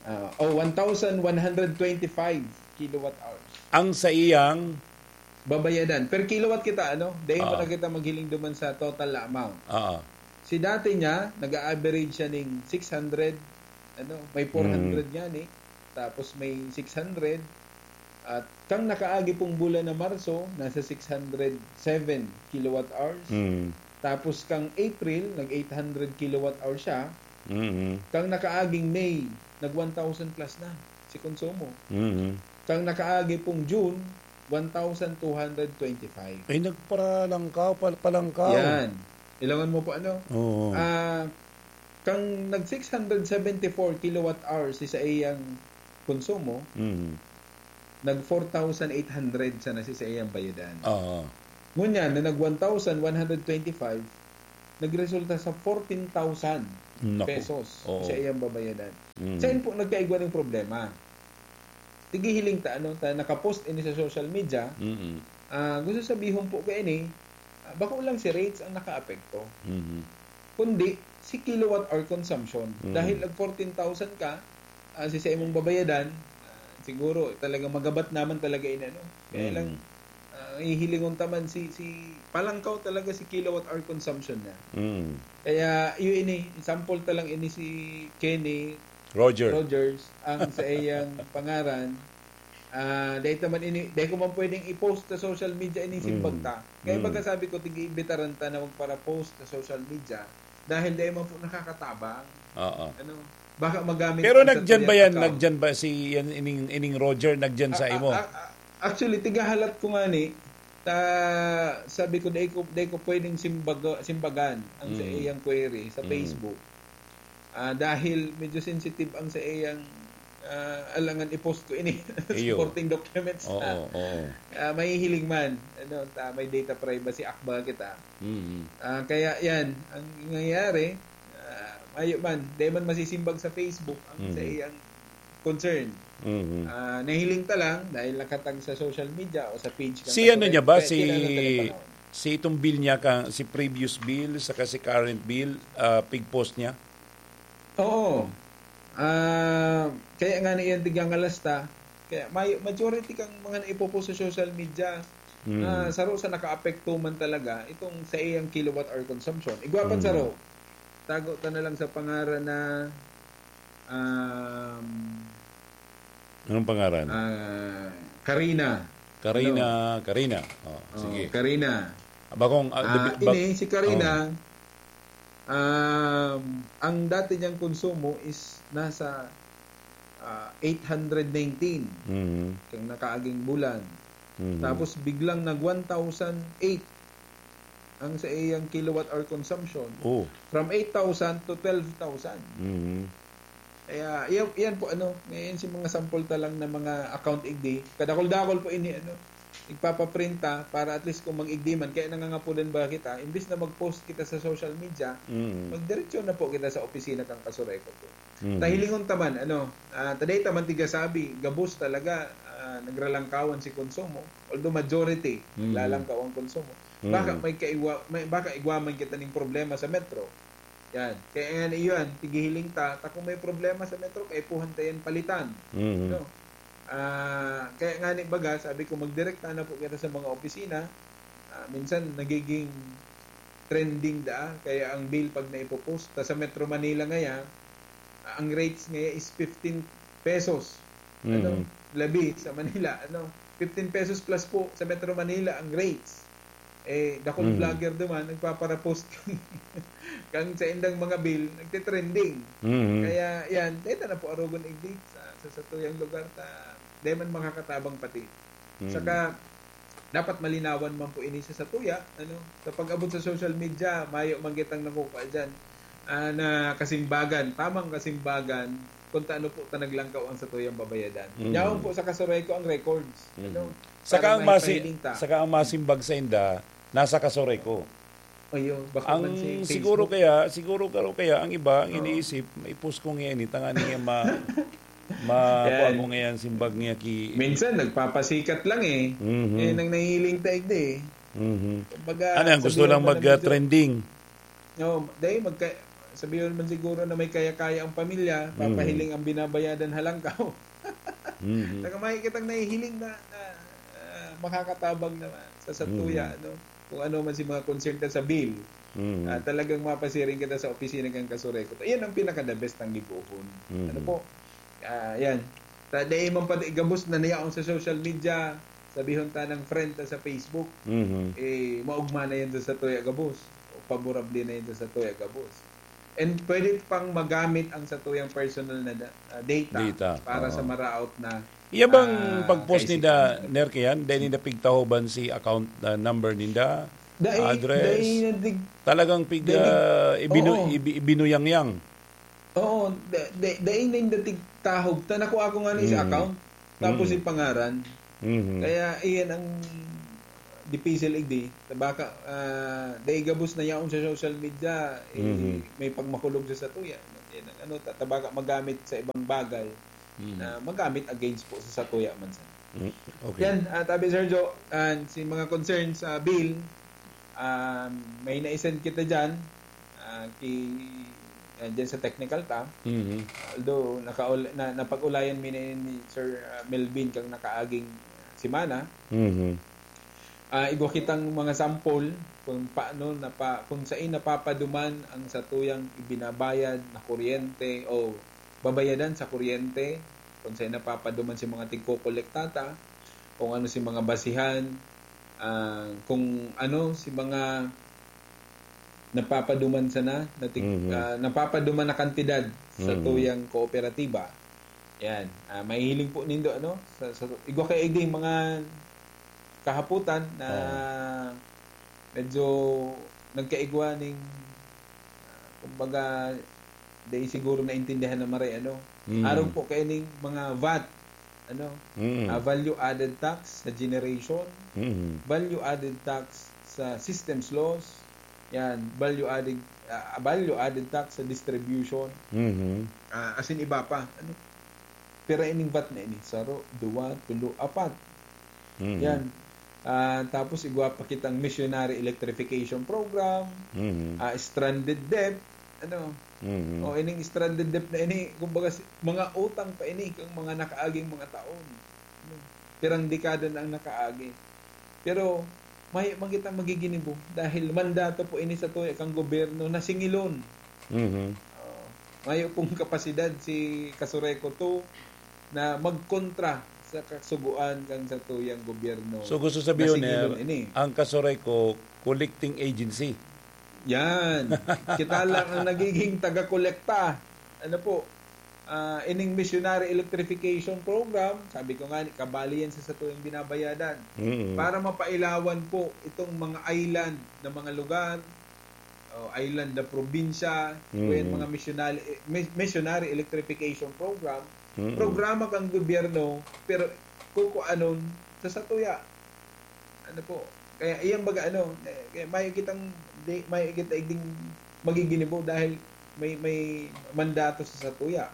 Ah, oh, one thousand one hundred twenty-five kilowatt hours. Ang sa iyang Babayadan. Per kilowatt kita, ano? Dahil Oo. pa na kita maghiling duman sa total na amount. Oo. Si dati niya, nag-a-average siya ning six hundred, ano? May Mm. four hundred niya, ni. Tapos may six hundred. At kang nakaagi pong bulan na Marso, nasa six hundred seven kilowatt hours. Mm. Tapos kang April, nag eight hundred kilowatt hours siya. Mm. Kang nakaaging May, nag one thousand plus na si konsumo. Mm. Kang nakaagi pong June, one thousand two hundred twenty-five. Ay, nagparalangkaw, pal- palangkaw. Yan. Ilangan mo po ano? Oo. Ah, kang nag six hundred seventy-four kilowatt hours si sa iyang konsumo, Mhm. nag four thousand eight hundred sana si sa iyang bayadan. Oo. Ngunyan, na nag one thousand one hundred twenty-five, nagresulta sa fourteen thousand Naku. pesos Oo. sa iyang babayadan. Mm. Saan po nagkaigwa ng problema? Tigihiling ta, ano, ta nakapost ini sa social media, Mm-mm. ah, gusto sabihon po ka ini, ah, bako lang si rates ang nakaapekto. Mhm. Kundi, si kilowatt hour consumption. Mm. Dahil nag fourteen thousand ka, ah, si sa imong babayadan, ah, siguro talagang magabat naman talaga ini, ano. Kaya Mm. lang, ah, hihilingon ta man si, si palangkaw talaga si kilowatt hour consumption niya. Mm. Kaya, yun ini, sample ta lang ini si Kenny Roger. Rogers, ang sa iyang pangaran. Ah, dahil naman ini, dahil ko man pwedeng i-post sa social media ini simbag Mm. ta. Kaya Mm. baga sabi ko, tigi-imbitaran ta na magpara-post sa social media dahil dahil man po nakakatabang. Oo. Ano, baka magamit Pero ang nagdiyan ba Satoya yan? account. Nagdiyan ba si yan, ining, ining Roger? Nagdiyan sa Ah, imo? ah, ah, actually, tigahalat ko nga ni, ta, sabi ko, dahil ko, dahil ko pwedeng simbaga, simbagan ang sa Mm. iyang query sa Mm. Facebook. Ah, dahil medyo sensitive ang sa iyang, ah, alangan i-post ko ini. Iyo. Supporting documents Oo, na. Oo. Ah, mahihiling man, ano, ta, may data privacy act ba kita. Mm. Ah, kaya yan, ang nangyayari, ah, ayo man, di man masisimbag sa Facebook ang sa Mhm. iyang concern. Mhm. Ah, nahiling ta lang dahil nakatag sa social media o sa page ng Si ano niya ba? Kasureco, Si, kaya kailangan ta ng panahon. si itong bill niya, ka, si previous bill, saka si current bill, ah, pig-post niya? Oo. Ah, kaya nga na iyan tigangalas ta. Kaya may majority kang mga naipopost sa social media Mm. na saro sa nakaapekto man talaga itong sa iyang kilowatt hour consumption. Igwa pa Mm. saro. Tago ta na lang sa pangaran na, um, Anong pangaran? ah, Karina. Karina, Karina. Oh, Oh, sige. Karina. Bakong, ah, Ah, the bi- bak- ini, si Karina, Oh. um, ang dati niyang konsumo is nasa, ah, eight hundred nineteen Mhm. kang nakaaging bulan. Mhm. Tapos biglang nag one thousand eight ang sa iyang kilowatt hour consumption. Oh. From eight thousand to twelve thousand. Mhm. Kaya, yan, yan po, ano, ngayon si mga sample ta lang na mga account igdi. Kadakol-dakol po ini, ano, igpapaprinta para at least kung mag-igdi man, kaya nangangapulan ba kita, imbis na mag-post kita sa social media, Mhm. magdiretso na po kita sa opisina kang Kasureco po. Mhm. Tahilingon ta man, ano, ah, taday ta man tiga sabi, gabos talaga, ah, nagralangkawan si konsumo. Although majority, Mhm. naglalangkaw ang konsumo. Mhm. Baka may kaiwa, may, baka igwa man kita ning problema sa metro. Yan. Kaya yan, iyon, tigihiling ta, ta kung may problema sa metro, kaipuhan ta yan palitan. Mhm. No? Ah, kaya nga ni baga, sabi ko, magdirekta na po kita sa mga opisina. Ah, minsan, nagiging trending da, kaya ang bill pag naipopost, ta sa Metro Manila ngaya, ah, ang rates ngaya is fifteen pesos. Ano? Mhm. Labi sa Manila, ano? Fifteen pesos plus po sa Metro Manila ang rates. Eh, dakul Mhm. vlogger duman, nagpaparapost kang, kang sa indang mga bill, nagtitrending. Mhm. Kaya, yan, dito na po arugon igdi sa, sa satuyang lugar, ta, di man makakatabang pati. Mhm. Saka, dapat malinawan man po ini sa satuya, ano, sa pag-abot sa social media, mayo man kitang nakukuha dyan, ah, na kasimbagan, tamang kasimbagan, kung taano po ta naglangkaw ang satuyang babayadan. Mhm. Yaon po sa Kasureco ang records. Mhm. Ano, Saka para ang masi- maipahiling ta. Saka ang masimbag sa inda, nasa Kasureco. Ayo, baka Ang man si siguro Facebook. kaya, siguro karo kaya, ang iba, ang Oo. iniisip, maipos ko nga ini, tanga niya ma-, ma-, Yan. kuha ko ngayon, simbag niya ki- Minsan, nagpapasikat lang eh. Mhm. Eh, nang nahihiling taig di eh. Mhm. Kumbaga, Ano yan, gusto sabihan lang mo na medyo- mag-trending? No, dahil magka-, sabihin man siguro na may kaya-kaya ang pamilya, Mm. papahiling ang binabayadan halangkaw. Mhm. Saka makikitang nahihiling na, na, ah, makakatabang naman sa satuya, Mm. ano? Kung ano man si mga concern ta sa bill, Mhm. ah, talagang mapasiring kita sa opisina kang Kasureco. Iyan ang pinaka-the best ang gibohon. Mm. Ano po? Ah, yan. Ta, dahil man pati gabos na nayaon sa social media, sabihon ta ng friend ta sa Facebook, Mhm. eh, maugma na yan sa satuya gabos. O paborable na yan sa satuya gabos. And pwede pang magamit ang satuyang personal na da- ah, data, Data, para sa oo. maraot na Iya bang ah, pag-post ni kaisikatan. da Ner kayan, dahil ninda pigtahoban si account na number ninda, Dai, address, dai na dig- talagang pig, dai dig- ah, ibinu-, oo. ibi-, ibinuyangyang. Oo, da- da- dai na yung datig tahob. Ta nakuha ko nga na sa Mm. account. Tapos Mm. yung pangaran. Mhm. Kaya iyan ang dipisil igdi. Tabaka, ah, dai gabos na yaon sa social media, eh, Mhm. may pagmakulog sa satuya. Yan ang ano, ta- tabaka magamit sa ibang bagay Mhm. na magamit against po sa satuya man sana. Mm, okay. Yan, ah, tabi Sergio, and si mga concerns sa bill, um, may na-send kita dyan, ah, ki, ah, dyan sa technical ta. Mhm. Although, nakaul- na, napag-ulayan mi na ni Sir, ah, Melvin kang nakaaging semana. Mhm. Ah, igwa kitang mga sample kung paano napa-, kung saan napapaduman ang satuyang ibinabayad na kuryente o babayadan sa kuryente, kung saan napapaduman si mga tigkokolektata, kung ano si mga basihan, ah, kung ano si mga napapaduman sana, na tig-, Mhm. ah, napapaduman na kantidad sa Mhm. tuyang kooperatiba. Yan. Ah, mahihiling po nindo, ano, sa, sa, igwa kay igdi mga kahaputan na Oo. medyo nagkaigwa ning, ah, kumbaga, di siguro naintindihan na maray, ano. Mhm. Arog po kay ning mga vat, ano, Mhm. ah, value added tax sa generation, Mhm. value added tax sa systems loss, yan, value added, ah, value added tax sa distribution, Mhm. ah, asin iba pa, ano. Pero ining vat na ini, saro, duwa, tulo, apat. Mhm. Yan. Ah, tapos igwa pa kitang missionary electrification program, Mhm. ah, stranded debt, ano. Mhm. O, ining stranded debt na ini, kumbaga, si-, mga utang pa ini kang mga nakaaging mga taon. Ano? Pirang dekada na ang nakaagi. Pero, mayo man kitang magiginibo dahil mandato po ini sa tuya kang gobyerno na singilon. Mhm. Oo. Mayo pong kapasidad si Casureco two na magkontra sa kasugoan kan satuyang gobyerno So, gusto na sabihin, singilon Ner, ini. ang Casureco, collecting agency. Yan. Kita lang ang nagiging taga-kolekta. Ano po? Ah, ining missionary electrification program, sabi ko nga, kabali yan sa satuyang binabayadan. Mm. Para mapailawan po itong mga island na mga lugar, o island na probinsya, Mm. o yan mga missionary, eh, mis-, missionary electrification program, Mm. programa kang gobyerno, pero kukuanon sa satuya. Ano po? Kaya iyang baga, ano, eh, kaya mayo kitang, di, mayo kita igding magiginibo dahil may, may mandato sa satuya.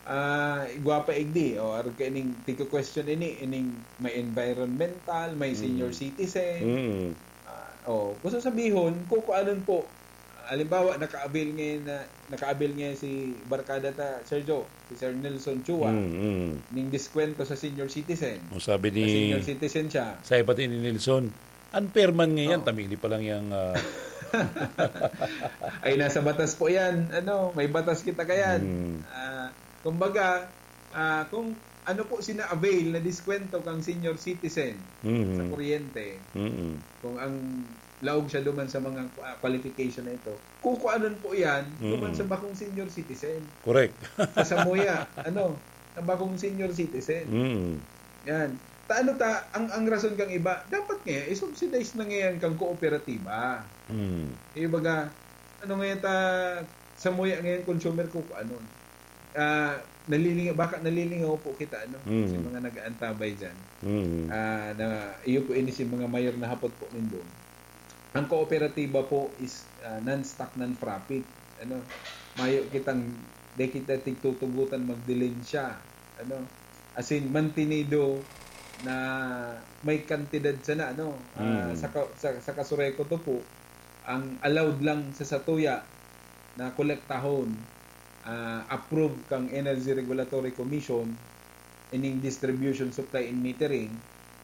Ah, igwa pa igdi, o, arog ka ining, tigko-question ini, ining may environmental, may senior Mm. citizen. Mm. Ah, o, gusto sabihon, kukuanon po, halimbawa, naka-avail ngayon na, naka-avail ngayon si barkada ta, Sergio, si Sir Nelson Chua, Mm, mm. ning diskwento sa senior citizen. O, sabi Sa ni senior citizen siya. Sa pati ni Nelson, unfair man ngayan, Oo. tamili pa lang yang, ah, Ay, nasa batas po yan. Ano, may batas kita kayan. Mm. Ah, kumbaga, ah, kung ano po sina-avail na diskwento kang senior citizen Mm. sa kuryente, Mm. kung ang laog siya duman sa mga, ah, qualification na ito, kukuanon po yan duman Mm. sa bakong senior citizen. Correct. Sa samuya, ano, sa bakong senior citizen. Mm. Yan. Ta, ano ta, ang, ang rason kang iba, dapat nga, i-subsidize na ngayon kang kooperatiba. Mm. Yung baga, ano ngayon ta, samuya ngayon, consumer kukuanon. Ah, nalilingaw, baka nalilingaw po kita, ano, Mm. sa mga nag-aantabay dyan. Mm. Ah, na, iyo po ini si mga mayor na hapot po nindon. Ang kooperatiba po is, ah, non-stock, non-profit. Ano, mayo kitang, di kita tigtutugutan magdilensya. Ano, as in, mantenido na may kantidad sana, ano, ah, Mm. sa ka-, sa, sa Casureco two po, ang allowed lang sa satuya na kolektahon, ah, approved kang Energy Regulatory Commission, ining distribution, supply, and metering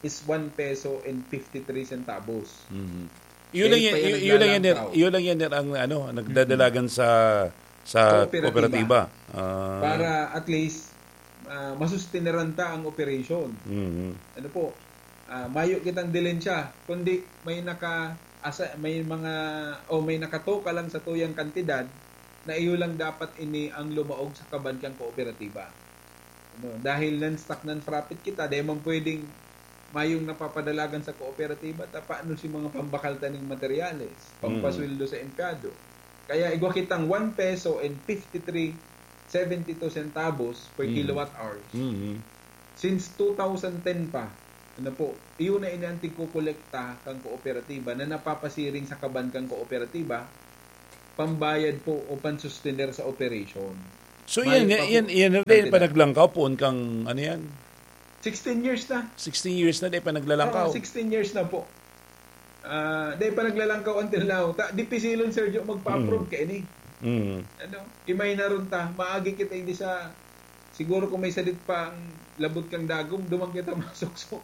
is one peso and fifty-three centavos. Mhm. Yun lang Dahil yan, pa yan yun, yun lang yan, naglalantaw. Ner, yun lang yan, Ner, ang, ano, nagdadalagan sa, sa Kooperatiba. kooperatiba. Ah. Para at least, ah, masustineran ta ang operation. Mhm. Ano po? Ah, mayo kitang dilensya, kundi may naka-, asa-, may mga, o may nakatoka lang sa tuyang kantidad, na iyo lang dapat ini ang lumaog sa kaban kan kooperatiba. Ano, dahil non-stock, non-profit kita, dai man pwedeng mayong napapadalagan sa kooperatiba, ta paano si mga pambakal ta ning materyales, Mm. pampasweldo sa empleyado? Kaya igwa kitang one peso and fifty-three seventy-two centavos per Mm. kilowatt hours. Mm. Since two thousand ten pa, ano po, iyo na ini ang tigkokolekta kan kooperatiba na napapasiring sa kaban kan kooperatiba, pambayad po o pansustener sa operation. So, Mayo yan, pa po yan, yan, yan, kantidad. Panaglangkaw poon kang, ano yan? Sixteen years na. Sixteen years na, di pa naglalangkaw. Oo, sixteen years na po. Ah, di pa naglalangkaw until now. Ta, dipisilon, Sergio, magpa-approve Mm. ka ini. Mm. Ano? Imay na ron ta, maagi kita hindi sa, siguro kung may sadit pa ang labot kang dagom, duman kita masuksok.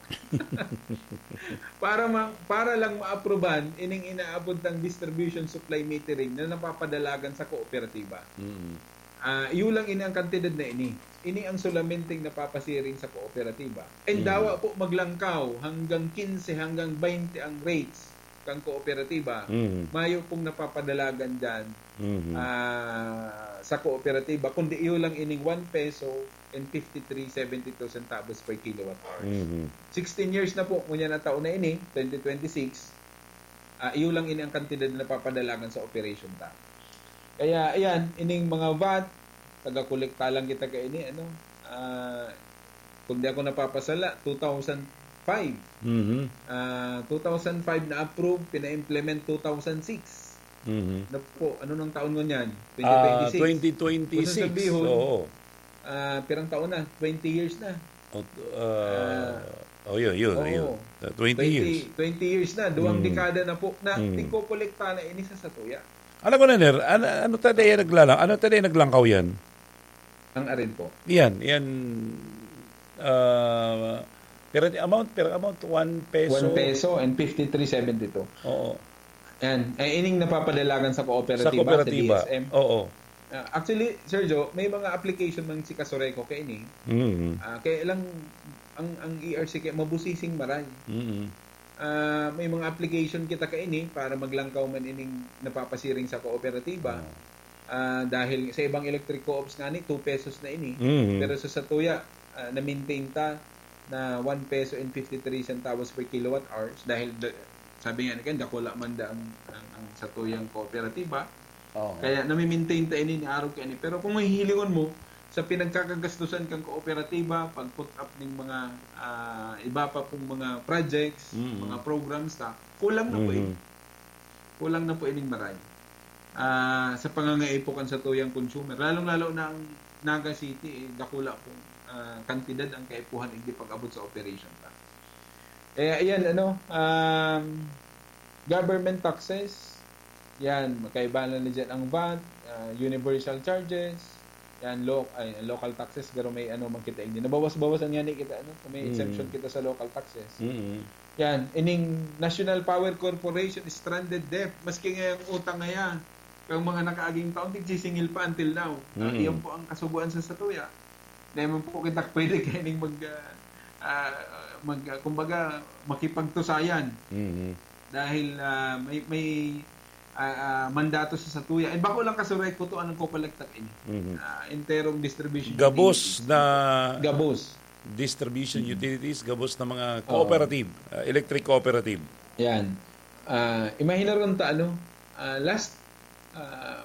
Para ma-, para lang maaprubahan, ining inaabot ng distribution supply metering na napapadalagan sa kooperatiba. Mm. Ah, iyo lang ini ang kantidad na ini. Ini ang solamenteng napapasiring sa kooperatiba. And Mm. dawa po maglangkaw hanggang quince, hanggang twenty ang rates kan kooperatiba. Mm. Mayo pong napapadalagan dyan, Mhm. ah, sa kooperatiba, kundi iyo lang ining one peso and fifty-three seventy-two centavos per kilowatt hours. Mhm. Sixteen years na po, ngunyan na taon na ini, twenty twenty-six, ah, iyo lang ini ang kantidad na napapadalagan sa operation ta. Kaya, ayan, ining mga vat, taga-kolekta lang kita kaini, ano, ah, kung di ako napapasala, two thousand five. Mhm. Ah, two thousand five na-approve, pina-implement two thousand six. Mhm. Na po, ano nang taon ngunyan? Ah, Twenty twenty-six. Twenty twenty-six, Kung sasabihin, oo. ah, pirang taon na? Twenty years na. Ot-, ah, Ah, oh, yun, yun, oo. yun. Ah, twenty Twenty, years. twenty years na, duwang Mm. dekada na po na Mm. tigkokolekta na ini sa satuya. Alam ko na, Ner, ano, ano ta dai naglalang-, ano ta dai naglangkaw yan? Ang arin po. Yan, yan, ah, pero the amount, pero amount, one peso. One peso and fifty-three seventy-two. Oo. Yan. Eh, ining napapadalagan sa kooperatiba, Sa kooperatiba. sa D S M. Oo. Ah, actually, Sergio, may mga application man si Casureco kaini. Mm. Ah, kaya lang, ang, ang E R C kaya mabusising maray. Mm. Ah, may mga application kita kaini para maglangkaw man ining napapasiring sa kooperatiba. Oo. Ah, dahil sa ibang electric co-ops nga ni, two pesos na ini. Mm. Pero sa satuya, ah, na-maintain ta na one peso and fifty-three centavos per kilowatt hours dahil d-, sabi nga ni Ken, dakula man da ang, ang, ang satuyang kooperatiba. Oo. Kaya nami-maintain ta ini, niarog ka ini. Pero kung mahihilingon mo, sa pinagkakagastusan kang kooperatiba, pag-put up ning mga, ah, iba pa pong mga projects, Mm. mga programs ta, kulang na po Mhm. ini. Kulang na po ining maray. Ah, sa pangangaipo kan satuyang consumer, lalong-lalo na ang Naga City, eh, dakula pong, ah, kantidad ang kaipuhan igdi pag-abot sa operation ta. Eh, ayan, ano, um, government taxes, yan, magkaiba na na dyan ang vat, ah, universal charges, yan, lo-, ay, local taxes, pero may ano man kita, hindi. Nabawas-bawasan nga ni kita, ano, may Mm. exemption kita sa local taxes. Mm. Yan, ining National Power Corporation, stranded debt, maski nga yung utang nga yan, yung mga nakaaging taon, tigsisingil pa until now. Ah, Mm. iyan po ang kasubuan sa satuya. Dahil man po kita pwede kaining mag, ah, ah, mag, ah, kumbaga, makipagtusayan. Mhm. Dahil, ah, may, may, ah, ah, mandato sa satuya. Eh, bako lang Casureco to, anong kopalektak ini? Mhm. Ah, enterong distribution Gabos utilities. na Gabos. distribution Mhm. utilities, gabos na mga Oo. cooperative, ah, electric cooperative. Yan. Ah, imagine ron ta, ano, ah, last, ah,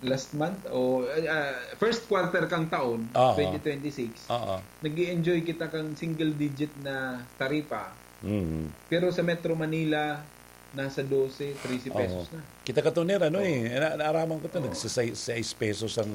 last month o, ah, first quarter kang taon, Aha. twenty twenty-six, Oo. nag-i-enjoy kita kang single digit na taripa. Mhm. Pero sa Metro Manila, nasa dose, trese pesos Oo. na. Kita ka, Toner, ano Oo. eh, na-, naaraman ko to, Oo. nagsasay-, sais pesos ang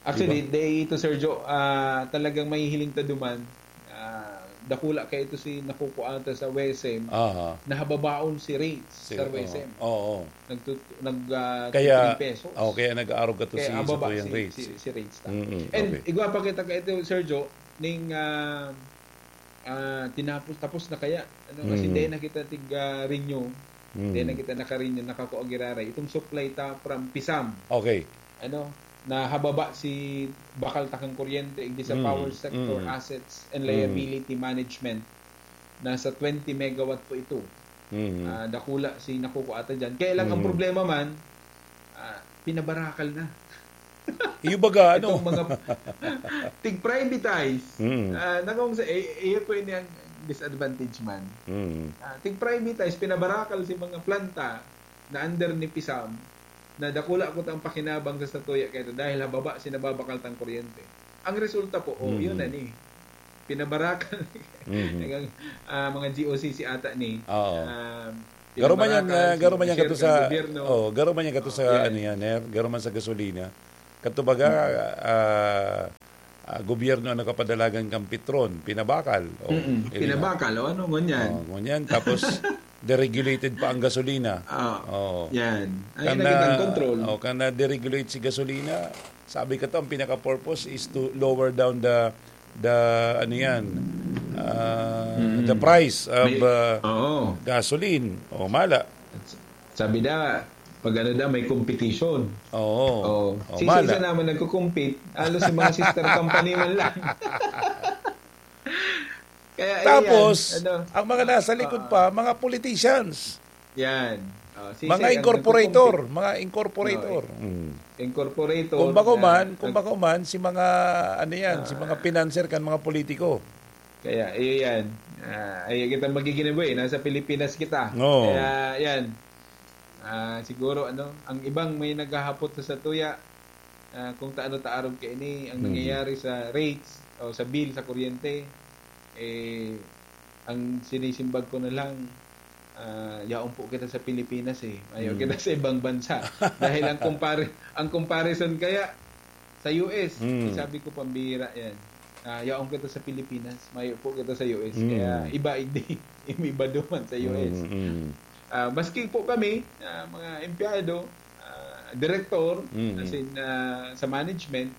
Actually, Diba? Day ito, Sergio, ah, talagang mahihiling ta duman. Ah, dakula kaya ito si nakukuha ta sa WESM, Aha. nahababaon si rates Si, sa oo. WESM. Oo. Nagtut-, nag, ah, Kaya, three pesos. oh, kaya nag-aarog ka to Kaya si, sa ababa tuyang si, rates. si, si rates ta. Mm-mm, And okay. igwa pa kita kaya ito, Sergio, ning, ah, ah, tinapos, tapos na kaya, ano, kasi Mm. dahil na kita tig, ah, renew, Mm. dahil na kita naka-renew, nakakuha giraray. Itong supply ta from Pisam. Okay. Ano, nahababa si bakal takang kuryente, igdi sa Mm, power sector mm. assets and Mm. liability management. Nasa twenty megawatt po ito. Mm. Ah, dakula si nakukuha ta dyan. Kaya lang, ang Mm. problema man, ah, pinabarakal na. Iyo baga, ano? Itong mga tig-privatize. Mm. Ah, nangong sa, eh, iyo po yun yung disadvantage man. Mm. Ah, tig-privatize, pinabarakal si mga planta na under ni Pisam, na dakula ko tang pakinabang sa satuya kaya dahil hababa sinababakal tang kuryente. Ang resulta po, oh, Mm. yun na ni. Pinabarakal. Mhm. Ang, ah, mga G O C C ata ni. Oo. Ah, Garo man yan, pinabarakal, ah, garo man yan sinishare kato ng sa, gobyerno. Oh, garo man yan kato Oh, sa, yan. Ano yan, eh? Garo man sa gasolina. Kato baga, ah, ah, gobyerno ang nakapadalagan kang Petron, pinabakal. Oh, Mm-mm. eh, di na. Pinabakal, o ano, ngunyan. Oh, ngunyan. Tapos, deregulated pa ang gasolina. Ah, Oo. yan. Ay, Kan nakita ang na, control. Oh, kan na-deregulate si gasolina, sabi kato, ang pinaka-purpose is to lower down the, the, ano yan, ah, Mm. the price of May- ah, Oo. gasoline. O, mala. Sabi na, pag ano na, may competition. Oo. Oh, Oh, si mala. isa naman nagko-compete, halos yung mga sister company man lang. Kaya, ayan, Tapos, ano, ang mga nasa likod ah, pa, mga politicians, yan. Oh, si mga Sir ang incorporator, nagko-compete. mga incorporator. Mm. Incorporator. Kung bako na man, kung nag- bako man, si mga, ano yan, si Ah. mga financier kan mga politiko. Kaya, iyo yan. Ah, ay kita magiginaboy, nasa Pilipinas kita. Oo. Kaya, yan. Ah, siguro, ano, ang ibang may naghahapot sa satuya, ah, kung taano taarog kaini, ang Mhm. nangyayari sa rates o sa bill sa kuryente, eh, ang sinisimbag ko na lang, ah, yaon po kita sa Pilipinas eh. Ayaw Mm. kita sa ibang bansa. Dahil ang compare-, ang comparison kaya sa U S, Mm. sabi ko pambira yan. Ah, yaon kita sa Pilipinas, mayo po kita sa U S. Mm. Kaya iba, igdi, iba duman sa U S. Mm, mm. Ah, maski po kami, ah, mga empleyado, ah, direktor, Mm. as in, ah, sa management,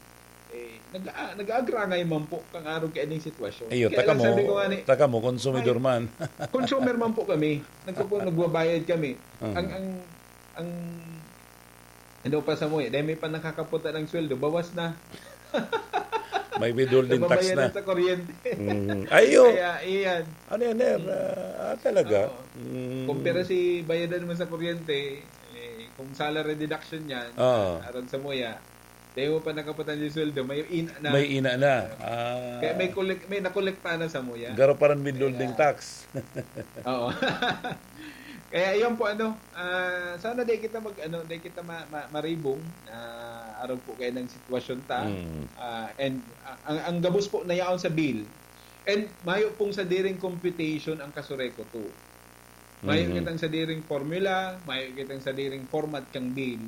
eh, nag-, ah, nag-aagrangay man po kang arog kaining sitwasyon. Iyo, Kaya taka lang mo, sabi ko nga ni, taka mo, konsumidor Ay. man. Consumer man po kami. Nagkuku-, nagbabayad kami. Mhm. Ang, ang, ang, ano pa sa mo eh, dahil may pa nakakaputa ng sweldo, bawas na. May withholding tax Nababayaran na. sa kuryente. Mhm. Ayo. Kaya, iyan. Ano yan, Ner? Ah, ah, talaga? Oo. Mm. Kumpara si bayadan mo sa kuryente, eh, kung salary deduction yan, Oo. arog sa muya, dahil mo pa nakaputan yung sweldo, may ina na. May ina na. Ah, Kaya may, collect, may nakolekta na sa muya. Garo pa rin withholding Kaya- tax. Oo. Kaya yun po, ano, ah, sana di kita mag, ano, di kita ma, ma, maribong, ah, arog po kayo ng sitwasyon ta. Mm. Ah, and ah, ang, ang gabos po na yaon sa bill, and mayo pong sadiring computation ang Kasureco two. Mayo Mhm. kitang sadiring formula, mayo kitang sadiring format kang bill.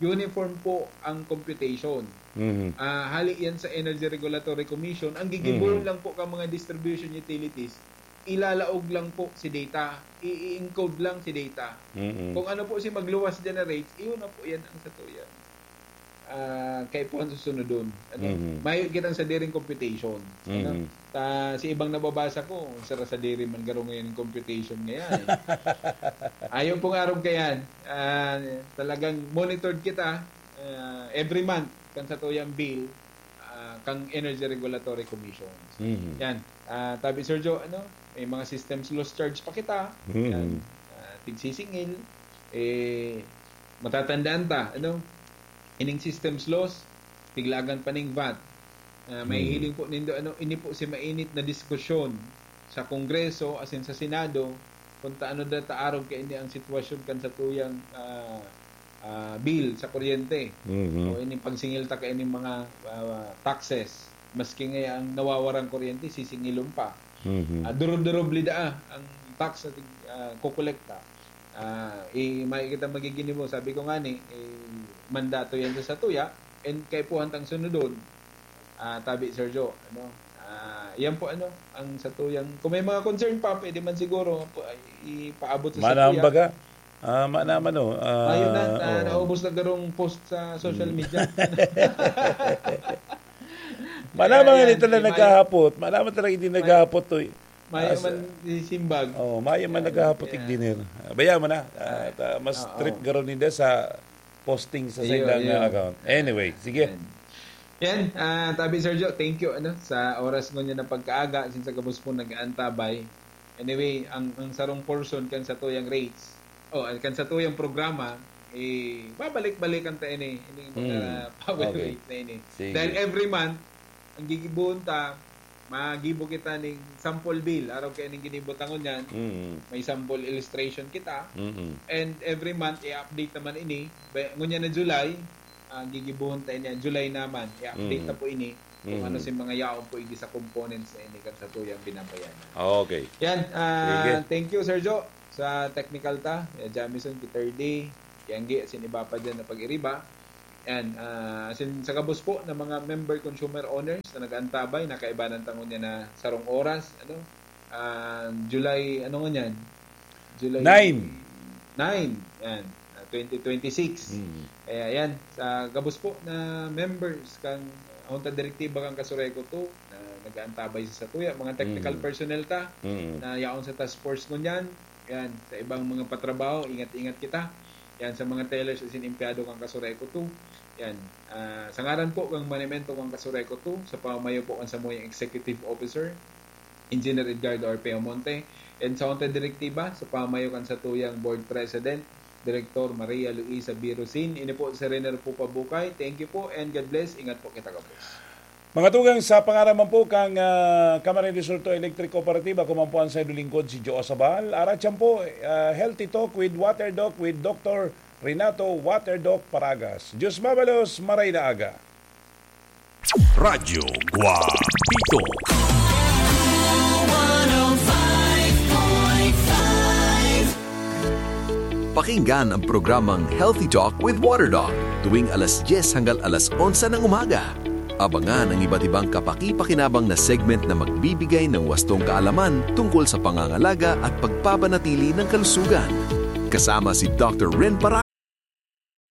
Uniform po ang computation. Mhm. Ah, hali yan sa Energy Regulatory Commission. Ang gigibohon Mhm. lang po ka mga distribution utilities, ilalaog lang po si data, i-encode lang si data. Mhm. Kung ano po si magluwas dyan na rates, iyon na po yan ang satuya. Ah, kay po ang susunodon. Ano? Mhm. Mayo kitang sadiring computation. Ano? Mhm. Ta, si ibang nababasa ko, sara sadiri man garo ngayon ang computation ngayon. Eh. Ayaw pong arog kayan. Ah, talagang monitored kita ah, every month kan satuyang bill ah, kang Energy Regulatory Commission. Mhm. Yan. Ah, tabi Sergio, ano, may mga systems loss charge pa kita. Mhm. Yan. Ah, tigsisingil, eh, matatandaan ta, ano, ining systems loss, tiglagan pa ning vat. Ah, may Mhm. hiling po nindo, ano, ini po si mainit na diskusyon sa Kongreso, asin sa Senado, kung taano da taarog kaini ang sitwasyon kan satuyang ah, ah, bill sa kuryente. Mhm. O ining pagsingil ta kaining mga ah, taxes. Maski nga ang nawawarang kuryente, sisingilon pa. Mhm. Ah, durub-durub lida ang tax sa tig- ah, kukolekta. Ah, i may kita magiging mo, sabi ko nga ni, eh, mandato yan sa satuya, and kaipuhan tang sunodon. Ah, tabi Sergio, ano? Ah, yan po ano, ang satuyang, kung may mga concern pa, pwede man siguro po, ay, ipaabot sa Manang satuya. Baga? Ah, manaman, oh. Ah, Ayun na, ah, oh. Naubos na garong post sa social Mm. media. Manaman Ayan, ito na may- naghahapot. Manaman talaga hindi naghahapot to. Eh. Mayo As- man simbag. Oh, mayo man naghahapot Yeah. igdiner. Baya mo na. Ah, ta- mas Oo. Trip garo ninda sa posting sa Iyo, ilang iyo. Account. Anyway, sige. Yan. Yan, ah, tabi Sergio, thank you ano sa oras mo niya na pagkaaga, since sa gabos po nag-aantabay. Anyway, ang ang sarong portion kan satuyang rates, oh, kan satuyang programa, eh, babalik-balikan ta ini, ini mga Mm. power Okay. rate na ini. Sige. Dahil every month, ang gigibohon ta, magibo kita ning sample bill. Araw kaya ning ginibo ta ngunyan, Mm. may sample illustration kita. Mm. And every month, i-update naman ini. Ba-, ngunyan na July, ah, gigibohon ta ini. July naman, i-update Mm. ta po ini kung Mm. ano si mga yaon po, igdi sa components na ini kan satuyang binabayaran. Okay. Yan, ah, Sige. thank you, Sir Jo, sa technical ta. Eh, Jamison, Kiturdi, Kianggi, asin iba pa dyan na pag-iriba. Yan, ah, asin sa gabos po na mga member consumer owners na nag-aantabay, nakaibanan ta ngunyan na sarong oras, ano, ah, July, ano ngunyan? July Nine. nine, yan, ah, twenty twenty-six. Mm. Kaya yan, sa gabos po na members kan Junta Direktiba kan Casureco two, na nag-aantabay sa satuya, mga technical Mm. personnel ta, Mm. na yaon sa task force ngunyan, yan, sa ibang mga patrabaho, ingat-ingat kita. Yan, sa mga tellers asin empleyado kan Casureco two. Yan, ah, sa ngaran po kan manimento kan Casureco two, sa pamayo po kan samuyang executive officer, Engineer Edgardo Orpeo Monte, and sa Junta Direktiba, sa pamayo kan satuyang board president, Direktor Maria Luisa Birusin. Ini po si Rene Rufo Pabukay. Thank you po and God bless. Ingat po kita, gabos. Mga tugang, sa pangaran man po kan, ah, Camarines Sur Two Electric Cooperative, ako man po ang saindo lingkod, si Joe Sabal. Aratyan po, ah, Healthy Talk with Water Doc with Doctor Renato Water Doc Paragas. Diyos mabalos, maray na aga. Radyo Guapito. Pakinggan ang programang Healthy Talk with Water Doc tuwing alas dyes hanggang alas onse ng umaga. Abangan ang iba't ibang kapaki-pakinabang na segment na magbibigay ng wastong kaalaman tungkol sa pangangalaga at pagpapanatili ng kalusugan. Kasama si Doctor Ren Paragas.